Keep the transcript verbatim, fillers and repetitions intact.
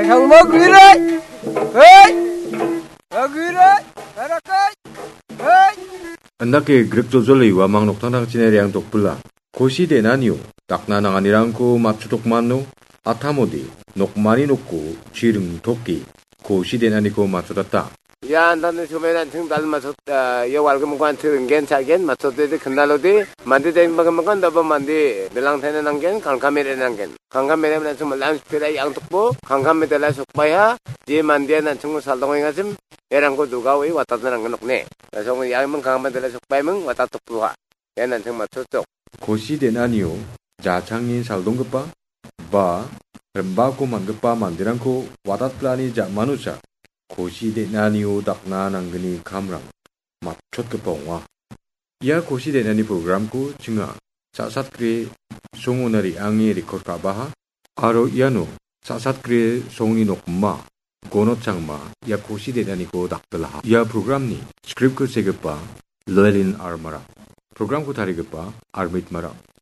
Tangma guirai. Hei. Aguirai. Arakai. Hei. Andake grik joljole uamang noktangtangchina reang tokpila. Kosi den·anio dakna nanganirangko matchotokmano atamode nokmani nokko chiring toke kosi den·aniko matchotata. Ia andani somaian an·ching dal matchot, ah, ia walgimiko an·ching ringgen, cha·gen, matchotode kindalode, mande dengbagimakan daba mande bilangtaina nanggen, kangkame re·na nanggen. Kangkame re·na an·ching malang spira iang tokbo, kangkame dela sokbaiha, je mandean an·chingko saldongengachim, erangko dugaoe watatna nanggen nokne. Lasong iang ming kangkame dela sokbaiming, watat tokboha. Ian an·ching matchotjok. Kosi den·anio jachangni saldonggipa ba rimbako man·gipa manderangko watatplani ja·manosa kosi den·anio dakna nanggni kamrang matchotgipa ong·a. Ia kosi den·ani programko chinga sa·satgre songona re·ange rekord ka·baha aro iano sa·satgre songni nokma Gonot Changma ia kosi den·aniko dakbilaha. Ia programni scriptko segipa Llewellyn R. Marak. Programko tarigipa Armit Marak.